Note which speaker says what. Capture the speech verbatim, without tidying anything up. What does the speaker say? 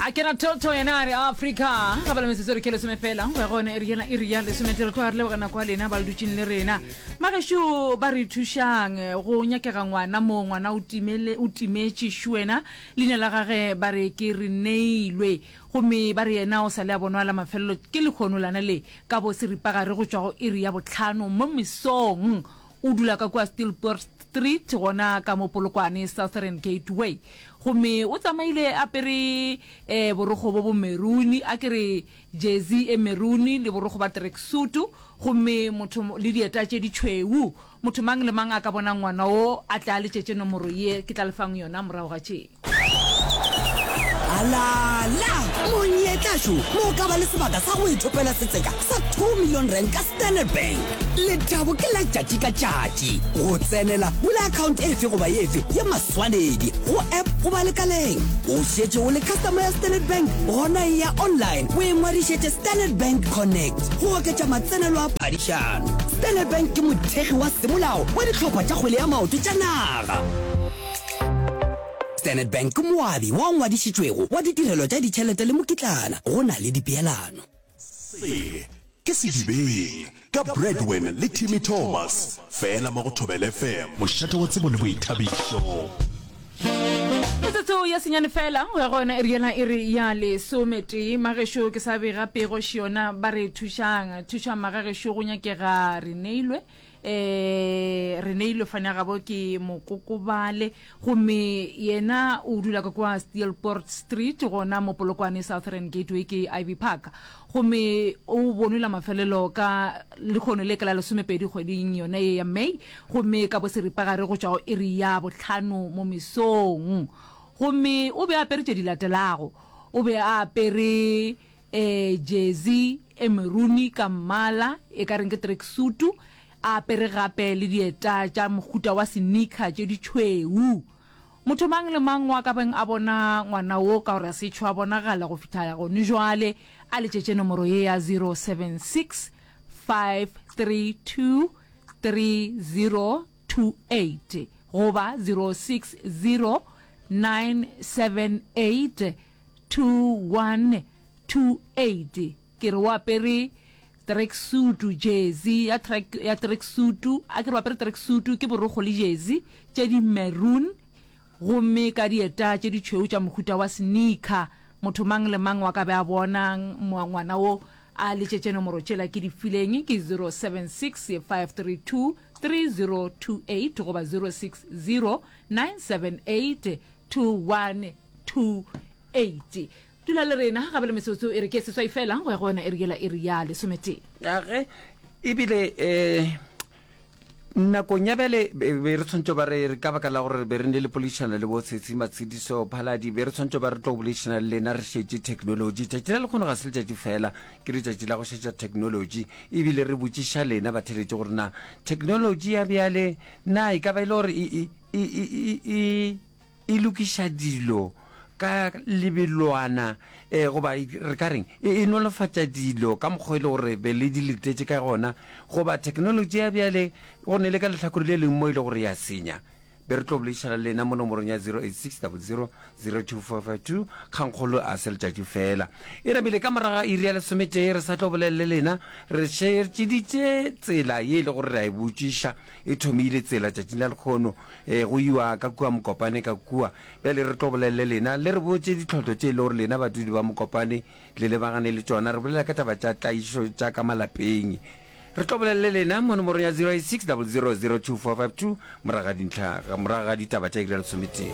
Speaker 1: A ke na thotho yena a re Afrika ga bala metsotso re ke lesome fela go ya gone iri yena iri ya lesometee. Re tloga re leboga nako ya lena ba le dutšeng le rena. Magešo ba re thušang go nyakega ngwana mo ngwana o timele o timetše šuena leina la gage ba re ke re neilwe gomme ba re yena o sa le a bonwa la mafelelo ke lekgono lana le ka bo seripagare go tšwa go iri ya bohlano mo mesong. O dula ka kua Steelpoort Street gona ka mo Polokwane Southern Gateway. Gomme o tsamaile apere eh, borokgo bo bo meruni, a ke re jersey e meruni le borokgo ba tracksuit, gomme motho le dieta tše ditšhweu. Motho mang le mang a ka bona ngwana wo a tle a letšetše nomoro ye ke tla le fang yona morago ga tše.
Speaker 2: Alala! Monyetla šo mo o ka ba le sebaka sa go ithopela setseka sa two million rand ka Standard Bank. Lethabo ke la tšatši ka tšatši. Go tsenela, bula account efe goba efe ya maswanedi go app goba lekaleng. O šetše o le customer ya Standard Bank? Gona eya online o ingwadišetše Standard Bank Connect go oketša matsenelo a phadišano. Standard Bank ke mothekgi wa semolao wa dihlopha tša kgwele ya maoto tša naga. Standard Bank ke moabi wa ngwadišitšwego wa ditirelo tša ditšhelete le mokitlana go na le dipeelano.
Speaker 3: Se ke Sedibeng ka Bradwin le Timmy Thomas fela mo go Thobela F M, mošate wa tsebo le boithabišo.
Speaker 1: Metsotso ya senyane fela go ya go yona iri yela iri ya lesometee. Magešo ke sa bega pego šiona ba re thušang thušang magagešo go nyakega re neilwe eh re neilwe fane gabo ke mokokobale gomme yena o dula ka kwa Steelpoort Street gona mo Polokwane Southern Gateway ke Ivy Park gomme o bonwe la mafelelo ka lekgono le ka la lesomepedi kgweding yona ye ya May gomme ka bo seripagare go tšwa go iri ya bohlano mo mesong gomme o be a apere tše di latelago o be a apere eh jersey e meruni ka mmala e ka reng ke tracksuit a apere gape le dieta tša mohuta wa sneaker tše ditšhweu. Motho mang le mang wa ka beng a bona ngwana wo ka gore a se tšho a bonagala go fihla gone jwale a letšetše nomoro ye ya zero seven six five three two three zero two eight goba zero six zero nine seven eight two one two eight. Ke re o apere tracksuit, jersey ya track ya tracksuit, a ke re o apere tracksuit ke borokgo le jersey tše di maroon gomme ka dieta tše ditšhweu tša mohuta wa sneaker. Motho mang le mang wa ka be a bona ngwana wo a letšetše nomoro tšela ke di fileng ke zero seven six five three two three zero two eight goba zero six zero nine seven eight two one two eight. Dula le rena gabe le metsotso e re ke seswai fela go ya go yona iri yela iri ya lesometee.
Speaker 4: Age ebile eh nakong ya bjale be re tshwanetse ba re ka baka la gore be re ne le poledišano le bo Tshetsi Matshediso Phaladi, be re tshwanetse ba re tlo boledišana le lena re šetše technology. Tšatši la lekgono ga se letšatši fela, ke letšatši la go šetša technology, ebile re botšiša lena batheletši gore na technology ya bjale na e ka ba e le gore e, e, e, e, e, e lokiša dilo ka lebelwana eh, goba re ka reng e, e nolofatša dilo ka mokgwa e le gore be le di letetše ka gona, goba technology ya bjale go ne le ka lehlakore le leng mo e le gore ya senya. Be re tlo boledišana le lena mo nomorong ya zero eight six double zero zero two four five two. Kgangkgolo a se letšatši fela e namile ka moraga iri ya lesometee, re sa tlo bolela le lena re šetšeditše tsela ye e le gore re a e botšiša e thomile tsela tšatšing la lekgono eh, go iwa ka kua Mokopane ka kua. Bjale re tlo bolela le lena le re botše ditlhotlo tše e le gore lena badudi ba Mokopane le lebagane le tšona. Re bolela ka taba tša tlaišo tša ka malapeng. Re tlo bolela le lena mo nomorong ya zero eight six double zero zero two four five two morago ga dintlha, morago ga ditaba tša iri ya lesometee.